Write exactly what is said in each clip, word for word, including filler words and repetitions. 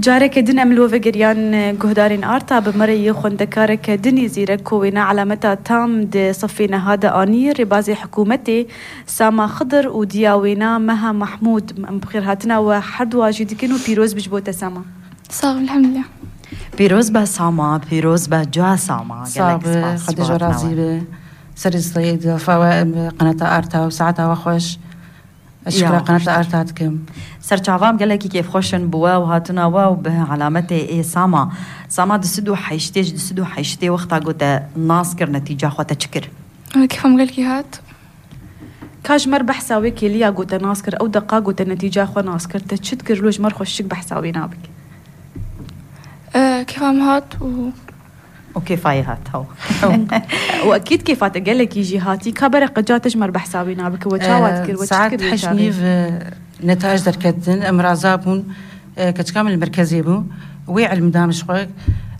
Careke din em li we vegeriyan, guhdarên Arta, bi me re yê xwendekareke din ê zîrek ku wêna elameta tam di sifê neha de anî, rêbazê hikûmetê Sama Xidir û diya wêna Meha Mahmûd. Em bi xêrhatina we her duwa jî dikin û pîroz bi ji bo te Sama. Sağ ol, elhamdülillah. Pîroz be Sama, pîroz be ca Sama. Gelek Sağ be, spas ji Xwedê ji we xatina razî we. Be. Serê stayê dilafa we, em, qenata Arta û saeta we xweş. Ez şikra Ya, qenata xweş. Arta dikim. Serçavam gelekî kêfxweş in bi we û hatina we û bi alametê ê Sama. Sama di sed û heştê ji di sed û heştê wexta got te nas kir netîca xwe te çi kir? Kêfa min gelkî hat. Ka ji me re behsa wê kêliya got te nas kir, ew deqa got te netîca xwe nas kir, te çi dikir, lo ji me re xweşik behsa wê nabik? Kêfa min hat û Û kêfa yê hat, haw. Û ekîd kêfa te gelekî jî hatî. Ka bere qeca te ji me re behsa wî nabike. We çawa dikir, we çi dikir wê çaxê? Saet heşt nîv, e, netayij derketin, em raza bûn, e, keçika min li merkezê bû. Wê ilm da min ji xwe,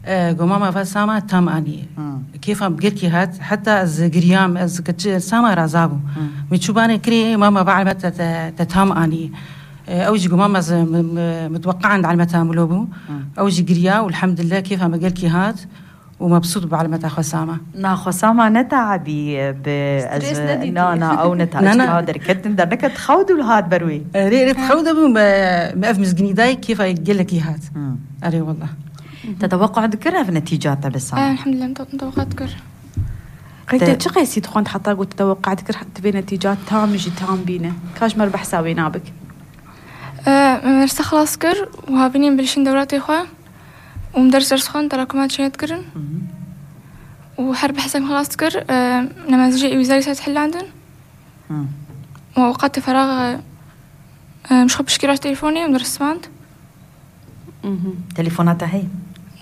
e, got, "Mama va Sama tam anî." Hmm. Kêfa min bi gelkî hat, heta ez giriyam, ez keç-, Sama raza bû. Hmm. Min çûbanê kirê, "Mama va ilme te, te, te tam anî." E, ew jî got, "Mama ez, m-, m-, mitweqean di ilmeta min lo bû." Hmm. Ew jî giriya û elhamdülillah kêfa min gelkî hat. û mebsût bi elameta xwe Sama. Na, xwe Sama ne teabî bi ez Stres nedîtî. Na, na, ew ne teabî. Na, na. Çawa derketin, derneket xew dû li hat ber wê. Erê, erê, xew de bû, me, me ev mizginî dayê kêfa gelekî hat. Hmm. Erê, wallah. Te teweqqa dikir ev netîca te bi Sama? Elhamdülillah, te-, teweqqa dikir. Qey te çi qeysî dixwend heta got te teweqqa dikir, divê netîca tam jî tam bîne? Ka ji me re behsa wê nabik. E, me dersa xelas kir û havînî em bilişîn dewratê xwe. Û min ders ders xwend, terakumat çênet kirin. Mhm. Û her behsek xelas dikir, e, nemazî jê wîzarî ser dihilandin. Hmm. Û awqatê ferax, e, e, ji xwe pişkî raşt telefonê û min ders xwend. Mhm. Telefona te heye?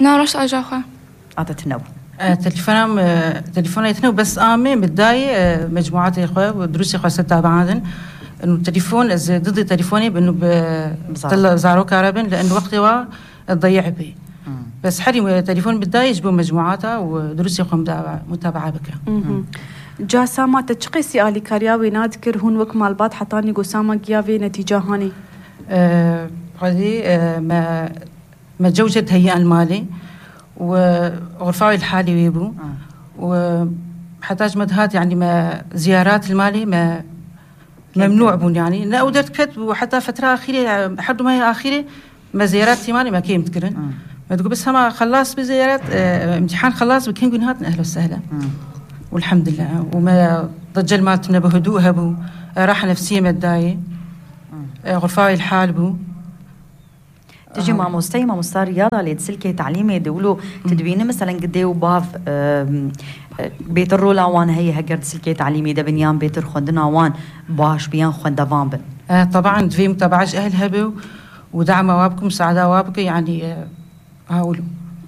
Na, raşt aja xwe. A te tune bû? E, telefona me, telefona tune bes amê, min dayê, e, mecmuatê xwe û durusê xwe ser tabiandin. Û telefon, ez didî telefonê bin û bi Bi zarok. Tila zaroka re bin, li en wextê wa, Dayê Ebê. Hmm. Bes herî me telefon bi dayê ji bo mecmuata û durusê xwe mutaba-, mutabaa bike. Mhm. Ca Sama te çi qeysî alîkariya wê nadikir, hûn wek malbat hetanî go Sama giya vê netîca hanê? E, xwedî, e, me, me cewcet heyiyan li malê û, e, xurfa wê li halê wê bû. Hmm. Û, e, heta ji me dihat, yanî me ziyarat li malê me Memnû bûn, yanî ne ew derdiket bû, heta fetra axîrê, her du mehê axîrê me ziyaret tîmanê me kêm dikirin. Hmm. Me digot, bes hema xelas bi ziyaret, e, imtîhan xelas bi, kengûn hatin, ehlen sehlen. Hmm. Welhamdulillah. Û me da cel mal tune bi hudû hebû, e, raha nefsiyê me dayê. Hmm. E, xurfa wê li hal bû. Tu jî Aha. Mamosteyî, mamosta Riyad a, lê di silkê telîmê de wilo tu Hmm. dibînî, meselen, gi dê û bav, e, e, bêtir rola wan heye, heger di silkê telîmê de bin yan bêtir xwendina wan baş bi yan xwendevan bin? E, teban, divê mutabaa ji ehl hebe û dema wa bike, musaada wa bike, yanî, e, ha wilo.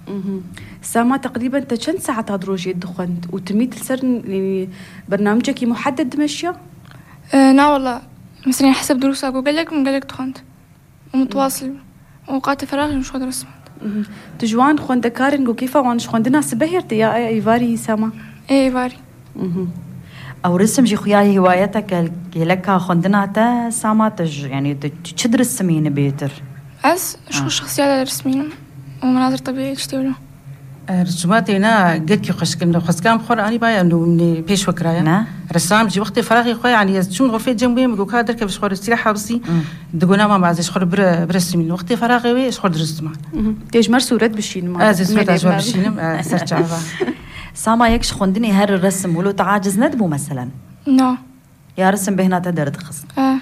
Mhm. Sama, teqrîben te çend saeta di rojê dixwend û tu mît li ser, yanî, bernamicekî muhedded dimeşiya? E, na wala. Mesela, hesab durusa ku gelek min gelek dixwend. Mutwasil. Û qatê feraxê min ji xwe dirismand. Mhm. Tu ji wan xwendekarên ku kêfa wan ji xwendina sibehê re tê ya, ê, êvarî Sama? Ê, êvarî. Mhm. Ew risim jî xuya hîwayeteke geleka xwendina te Sama, te ji, yanî tu çi dirisimînî bêtir? Ez ji xwe Ha. şexsiyeta dirismînim. Û menazir tebîî tiştê wilo. E, risumatê na gelkî xweşik in. Xwezika min xwe re anî baya, nû min pêş xwe kiraya. Ne? Resam jî wextê feraxê xwe, yanî ez çûm xurfê cem wê, min got, ka derkeve ji xwe re îstîraha bisî. Hmm. Digot, na mama, ez ê ji xwe re bire, biresimînim. Wextê feraxê wê ji xwe re dirisiman. Mhm. Tê ji me re sûret bişînim. Ez ê sûreta ji we re bişînim, e, ser çava. Sama, yek ji xwendinê her resim, wilo te aciz nedibû meselen? Na. Ya resim bêhna te derdixist? E.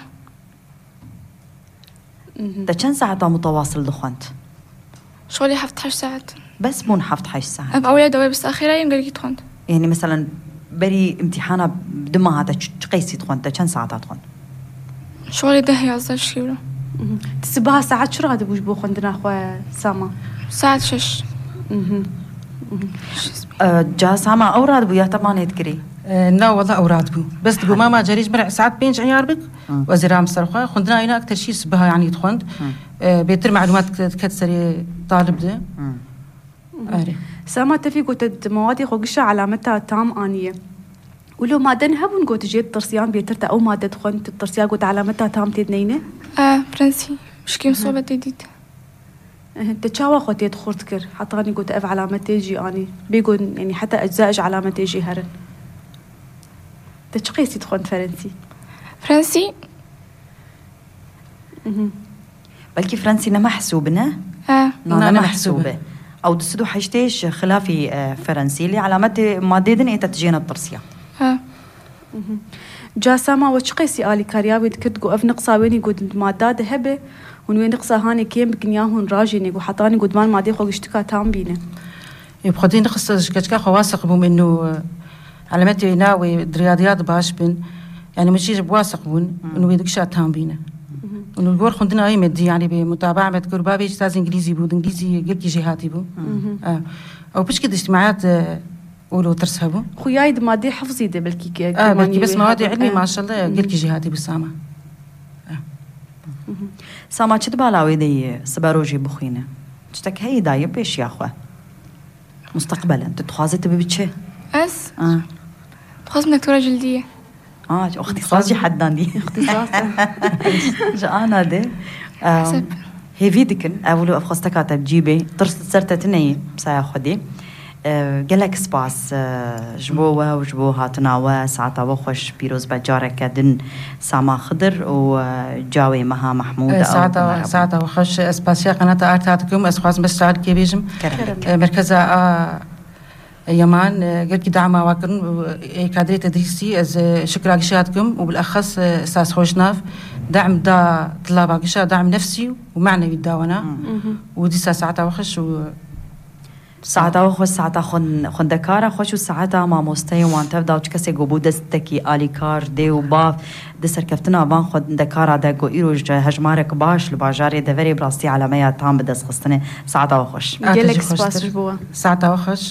Mhm. Te çend saeta mutewasil dixwend? Şolê heft heşt saet. Bes bûn heft heşt saet? Ev ewleya dawê bes axêra yê gelkî dixwend. Yanî, meselen, berî imtîhana dima hate çi, çi qeysî dixwend? Te çend saeta dixwend? Şolê deh yazdeh şîvro. Mhm. Ti sibaha saet çi radibû ji bo xwendina xwe, Sama? Saet şeş. Mhm. Mhm. Şeş. E, ca Sama ew radibû ya te banê dikirî? E, na, wela ew radibû. Bes digot, Ha. mama, carê ji min re saet pênc eyar bik. Hı. Wezîra min ser xwe. Xwendina wî na ekter şî sibiha, yanî dixwend. Hı. E, bêtir melûmat diket serê talib de. Hı. Erê. Sama, te vî gote di mewatê xwe gişa elameta tam aniye. Wilo maden hebûn got jê ditirsiyan bêtir te ew made dixwend, tu ditirsiya got elameta tam tê dineyne? E, prensî. Pişkî min Hı. sohbetê dît. Te çawa xwe tê xurt kir? Hetanî got ev elametê jî anî. Bêgun, yanî heta ecza ji elametê jî herin. Te çi qêsî dixwend ferensî? Fransî? Mhm. Belkî fransî ne mehsûb ne? E. Na, ne mehsûb e. Ew du sed û heştê ji xilafî, e, ferensî. Lê elametê madê din ê te tijêne tirsiya. E. Mhm. Ca Sama we çi qêsî alîkariya wê dikir, digot ev niqsa wênî got di mada de hebe, hûn wê niqsa hanê kêm bikin ya hûn rajênê, got hetanî got van madê xwe giştika tam bîne. Ê, bi xwedî niqsa ji keçika xwe wasiq bûm, inu, e, elemetê wê na wê di riyadiyat baş bin. Yani min jî ji bi wasiq bûn, Mhm. inu wê dikişa tam bîne. Mhm. Inu li gor xwendina wê me dî, yani bi mutabaa me dikir, bavê jî saz îngilîzî bû, di îngilîzî gelkî jêhatî bû. Mhm. E, ew pişkî di îctimaiyat, e, û lo tirs hebû. Xuyayî di madê hifzî de belkî ke-, Ah, kêmanî belkî bes wê mewadi hebû, ilmî eh. Maşallah, Mhm. gelkî jêhatî bû Sama. Mhm. Sama çi di bala wê de yê sibe rojê bixwîne? Tiştek heyî daye pêşiya xwe? Mustaqbelen, tu dixwazî tu bibî çi? Ez? Ah. Dixwazim doktora cildiyê. Ah, îxtîsas jî hedandî. Îxtîsas e. Ji ana de, em, Hesep. Hêvî dikin, ev wilo ev xwesteka te bi cî bê, tirs li ser te tune ye, bi saya Xwedê. E, gelek spas, e, ji bo we û ji bo hatina we, saeta we xweş, pîroz be careke din Sama Xidir û, e, cawê Meha Mehmûd E, ew saeta, me re bû. Saeta we xweş, ez spasiya qenata Arta dikim, ez xwazim bes tarikê bêjim. Kerem. E, merkeza a Yeman, e, gelkî dama wa kirin û, e, kadrê tedrîsî ez, e, şikra gişa dikim û bilexes, e, Sas Xweşnav dem da tilaba gişa, dem nefsî û manevî da wana. Hmm. Mhm. Û dîsa saeta we xweş û Saeta we xweş, saeta xwend-, xwendekara xweş û saeta mamosteyê wan tev da û çi kesê ku bû destekî alîkar, dê û bav di serkeftina van xwendekara de ku îro ji hejmarek baş li bajarê deverê bi rastî elemeya tam bi dest xistine. Saeta we xweş. Gelek spas ji bo we. Saeta we xweş.